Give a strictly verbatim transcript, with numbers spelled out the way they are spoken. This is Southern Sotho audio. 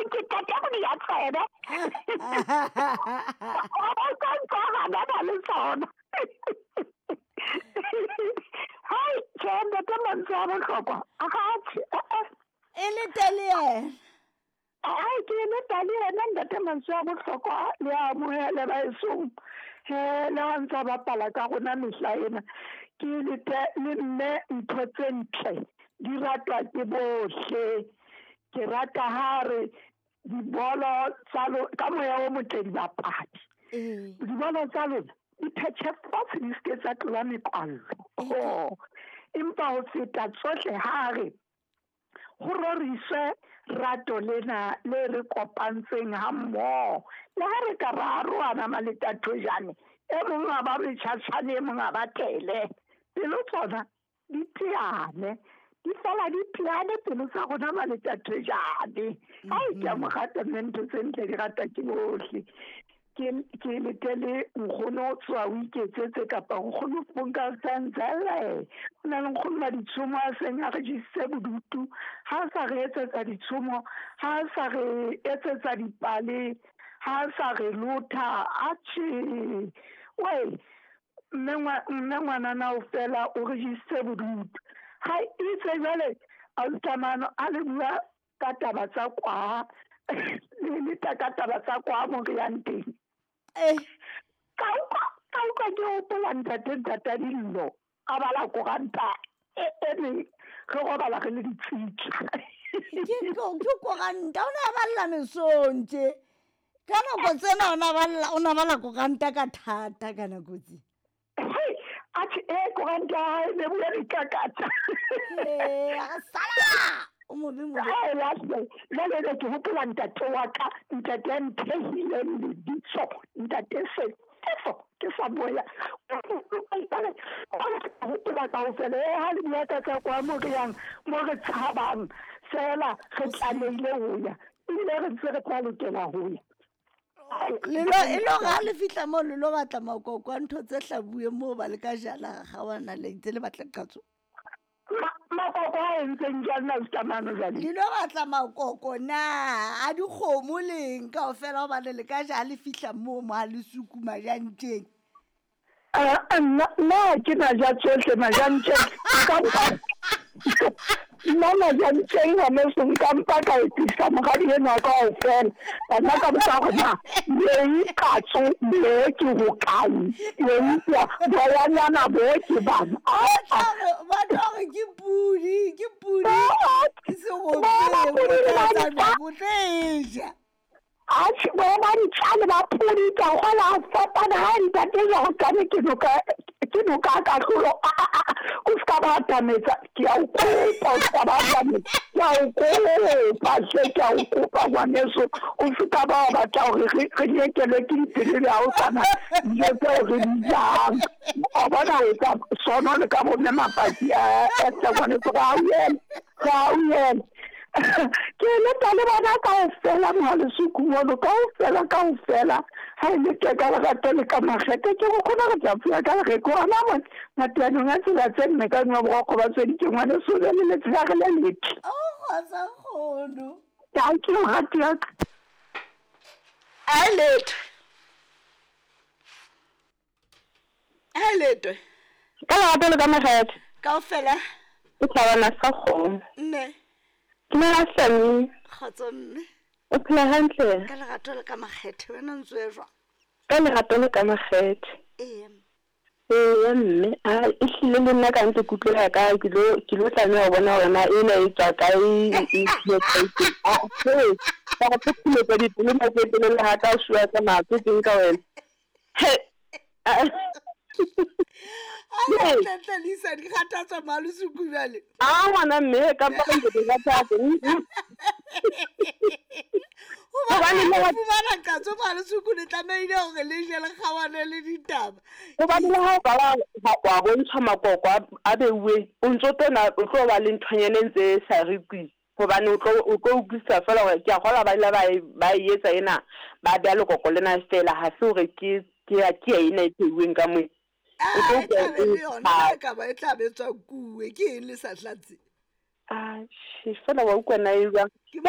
Ke qeta go di ya tsebe. O ka ntsagana na le tsona. Hai, tjhe, ntate mantswe a bohlokwa. Atjhe, E le tele yena. Ai, ke leta le yena ntate mantswe a bohlokwa le a amohele baesong. He, le ha ntsa bapala ka rona mehla ena. Ke lete le mme ntho tse ntle di ratwa ke bohle. Ke rata ha re dibolo tsa ka moya o motle dibapadi. Ee. Dibolo tsa lona di phethe fatshe di seke tsa tlola mekwallo. Oh, empa ho feta tsohle ha re ho roriswe rato lena le re kopantseng ha mmoho. Le ha re ka ra arohana maletathojane, e mong a ba metjhatjhane, e mong a ba tele. Pelo tsona di teane, di fela di teane pelo tsa rona maletathojane. Ai, ke a mo rata mme ntho tse ntle di ratwa ke bohle. Ke ke letele nkgono o tswa o iketsetse kapa nkgono Funka Sanzele. Ho na le nkgono wa ditshomo a seng a re jesitse bodutu. Ha a sa re etsetsa ditshomo, ha a sa re etsetsa dipale, ha a sa re lotha. Atjhe, wei, mme mme ngwanana o fela o re jesitse bodutu. Ha itse jwale ausi a le bua ka taba tsa kwa, le le ka taba tsa kwa mo re yang teng. Eh. Ka utlwa ka utlwa ke hopola ntate ntata dillo a bala koranta e e neng re robala re le ditsitla. Ke ke koranta o ne a balla mesong tje. Ka nako tsena o na balla o na bala koranta ka thata ka nako tse. Atjhe, e koranta ya hae ne bua dikakatsa. Eh, a sala. O mobe mobe. Ai, lahle. Jwale ne ke hopola ntate wa ka, ntate ya nthehileng lebitso, ntate Sefefo, ke sa boya. Hopola kaofela, e ha le bua ka tsa kwa mo re yang, mo re tshabang, fela re tlamehile ho ya. Ebile re ntse re tla lokela ho ya. Le lo e lo ga le fihla mo le lo batla makoko a ntho tse hlabuweng moo ba le ka jala ga wana le ntse le batla qatso. Makoko a entseng jwang na Stamano jwale? Le lo batla makoko na a dikgomo leng kaofela hobane le ka ja le fihla moo mo ha le sukuma jantjeng. Ah, nna nna ke na ja tsohle majantjeng. Nka mpa nna majantjeng ngwaneso nka mpa ka etsisa moradi enwa kaofela. Bana ka botsa hore na lei qatso le ke hokae? Lei boyanyana bo ke bana. Ba ba tla re ke pudi, ke pudi. Ke Ba ba serope pudi le o ba tla ntja. tsamaya o tlo e ja. Atjhe, bo ba ntja le ba pudi ka kgola a fapana ha ntate Jordane ke noka ke noka ka kahlolo. A a a o ska ba atametsa, ke a o kopa o ska ba atametsa. Ke a o kopa hle, ke a o kopa ngwaneso. O ska ba wa batla hore re re nyekelwe ke dipelo le ha o sana dijo tseo re di jang. O bona o etsa sono le ka bo mme mapaki a hle ngwaneso ga o eme, ga o eme. Ke leta le bona kaofela mohalesuku mono kaofela kaofela. Ha e le ke ka lerato le ka makgethe ke go kgona go tla pula ka lereko gona mo mateanong a tsela tse nne ka nwa borokgo ba tsweditse ngwaneso le le letsela re le letle. O kgotsa kgono. Thank you, rati ya ka. A letwe. A letwe. Ka lerato le ka makgethe. Kaofela. Ke thabana sa kgomo. Mme. Dumela Hlami. Kgotso mme. O phela hantle? Ka lerato le ka makgethe wena ntse o e jwang? Ka lerato le ka makgethe. Ee. Eya mme, a ehlile le nna ka ntse ke utlwela ka ke lo ke lo tlameha ho bona hore na ena e tswa kae e e kae teng. Ah, he, ka re phopholetsa dipelo nako e telele ha ka o shua ka matswe teng ka wena. He. A le tla Lisa di kgathatswa malosuku jwale. Ah, ngwana mme ka mpa ntse ke kgathatsa. Hobane Hobane le le wa fumana qatso malosuku le tlamehile hore le je le kgawane le ditaba. Hobane le ha o ka wa wa bontshwa makoko a a beuweng, o ntso tlo o tlo ba le nthonyana e ntse e sa re kwi. Hobane o tlo o tlo utlwisisa feela hore ke a kgolwa ba ile ba e ba e etsa ena ba beha lekoko lena feela ha se hore ke ke ya ke ya ena e pheuweng ka moo. O tlo Ah, e utlwa tla be e le yona ha ka ba e tla be tswa kuwe ke eng le sa hlatse? Ah, feela wa utlwa na e jwang. Ke